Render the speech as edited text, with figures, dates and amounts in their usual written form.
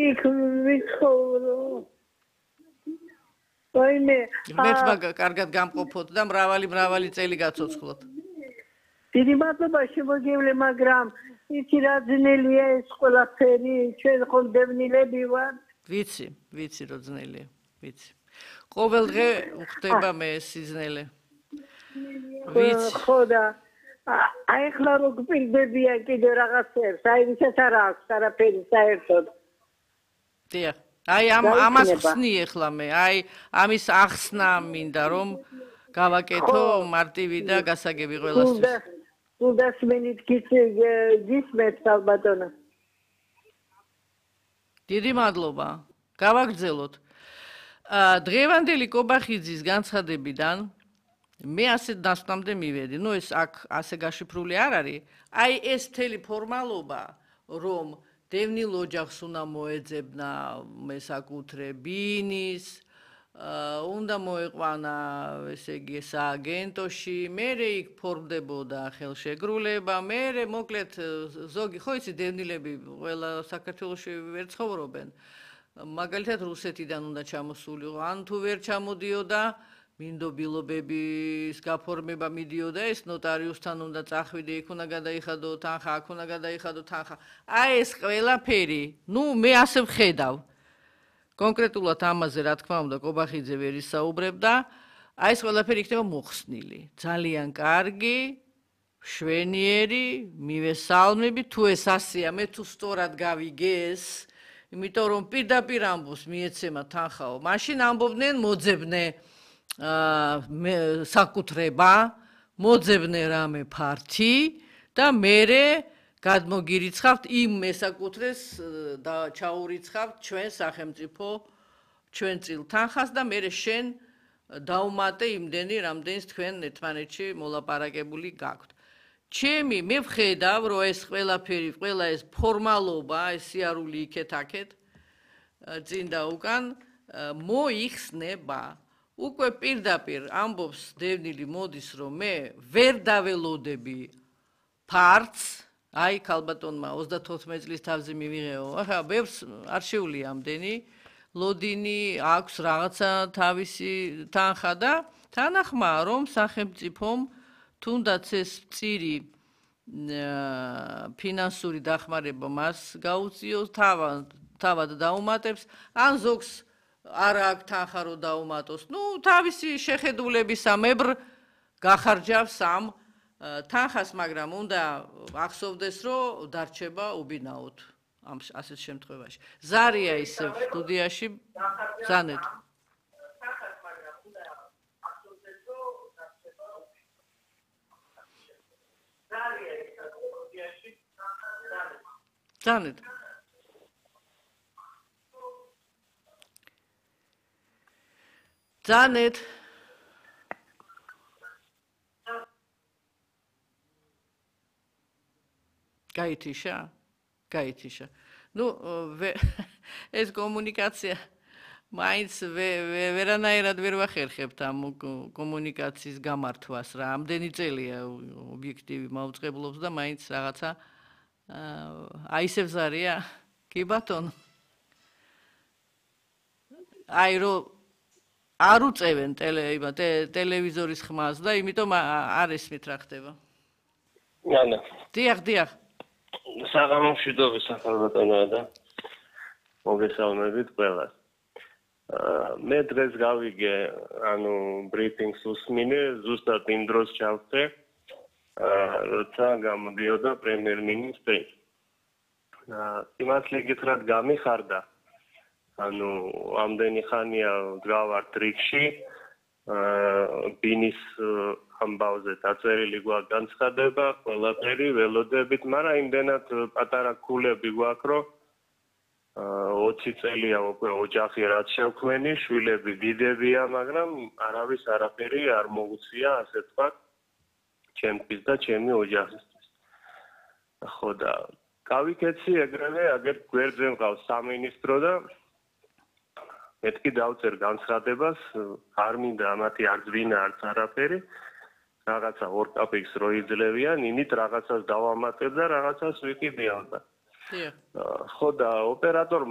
იქ ვიცხოვრო. ვაიმე. მე კარგად გამყოფოთ და მრავალი წელი გაცოცხლოთ. დიდი მადლობა შემოგივლე, მაგრამ იცი რა ძნელია ეს ყველაფერი, ჩვენ ხომ დევნილები ვართ. ვიცი რომ ძნელია, ვიცი. ყოველ დღე უხდება მე სიზნელე. ვიცი. ხო და აი ხლა რო გპირდებია კიდე რაღაცებს, აი ვისაც არ აქვს არაფერი საერთოდ. დიახ. აი ამას ხსნი ეხლა მე, აი ამის ახსნა მინდა რომ გავაკეთო მარტივი და გასაგები ყველასთვის. გასმენით გისმენთ ალბათონა. დიდი მადლობა. გავაგრძელოთ. დღევანდელი კობახიძის განცხადებიდან მე ასე დასკვნამდე მივედი. ნუ ეს აქ ასე გაშიფრული არ არის. აი ეს მთელი ფორმალობა, რომ დევნილ ოჯახს უნდა მოეძებნა მესაკუთრებინის, უნდა მოეყვანა, ესე იგი, სააგენტოში, მერე იქ ფორმდებოდა ხელშეკრულება, მერე მოკლედ ზოგი, ხო იცი, დევნილები ყველა საქართველოში ვერ ცხოვრობენ. მაგალითად რუსეთიდან უნდა ჩამოსულიყო, ან თუ ვერ ჩამოდიოდა, მინდობილობების გაფორმება მიდიოდა, ეს ნოტარიუსთან უნდა წახვიდე, იქ უნდა გადაიხადო თანხა, აქ უნდა გადაიხადო თანხა. აი ეს ყველაფერი, ნუ მე ასე ვხედავ. კონკრეტულად ამაზე რა თქმა უნდა კობახიძე ვერ ისაუბრებდა, აი ეს ყველაფერი იქნება მოხსნილი. ძალიან კარგი, მშვენიერი, მივესალმები, თუ ეს ასეა, მე თუ სწორად გავიგე ეს, იმიტომ რომ პირდაპირ ამბობს მიეცემა თანხაო, მაშინ ამბობდნენ მოძებნე საკუთრება, მოძებნე რამე ფართი და მერე გადმოგირიცხავთ იმ მესაკუთრეს და ჩაურიცხავთ ჩვენ სახელმწიფო ჩვენ წილ თანხას და მერე შენ დაუმატე იმდენი რამდენს თქვენ ერთმანეთში მოლაპარაკებული გაქვთ. მე ვხედავ რომ ეს ყველაფერი, ყველა ეს ფორმალობა, ეს სიარული იქეთ-აქეთ წინ და უკან მოიხსნება. უკვე პირდაპირ ამბობს დევნილი მოდის რომ მე ვერ დაველოდები ფართს, აი ქალბატონმა 34 წლის თავზე მივიღეო. ახლა ბევრს არ შეუძლია ამდენი ლოდინი აქვს რაღაცა თავისი თანხა და თანახმაა რომ სახელმწიფომ თუნდაც ეს წირი ფინანსური დახმარება მას გაუწიოს, თავად დაუმატებს, ან ზოგს არ აქვს თანხა რომ დაუმატოს. ნუ თავისი შეხედულებისამებრ გახარჯავს ამ თანხას, მაგრამ უნდა ახსოვდეს რომ დარჩება უბინაოდ ამ ასეთ შემთხვევაში. ზარია ისევ სტუდიაში ზანეთ. ზანეთ. ზანეთ. გაითიშა. ნუ ეს კომუნიკაცია მაინც ვერანაირად ვერ ვახერხებთ ამ კომუნიკაციის გამართვას რა. ამდენი წელია ობიექტივი მაუწყებლობს და მაინც რაღაცა აი ისევ ზარია. კი ბატონო. აი რომ არ უწევენ ტელევიზორის ხმას და იმიტომ არ ესმით რა ხდება. ანა. დიახ. საღამომშვიდობის ახალბატონოა და მოგესალმებით ყველას. მე დღეს გავიგე, ანუ ბრიფინგს უსმინე, ზუსტად იმ დროს ჩავხდე, როცა გამოდიოდა პრემიერ-მინისტრი. სიმართლე გითხრათ გამიხარდა. ანუ ამდენი ხანია ვდგავართ რიგში, ბინის ამბავზე დაწერილი გვაქვს განცხადება, ყველაფერი ველოდებით, მაგრამ იმდენად პატარა ქულები გვაქვს, რომ 20 წელია უკვე ოჯახი რაც შევქმენი, შვილები დიდებია, მაგრამ არავის არაფერი არ მოუწია, ასე ვთქვათ, ჩემთვის და ჩემი ოჯახისთვის. ხო და გავიქეცი ეგრევე, აგერ გვერდზე მყავს სამინისტრო და მეთქი დავწერ განცხადებას, არ მინდა ამათი არც ვინა, არც არაფერი. რაღაცა ორ კაპიკს რო იძლევიან, იმით რაღაცას დავამატებ და რაღაცას ვიყიდე ალბათ. ხო და ოპერატორ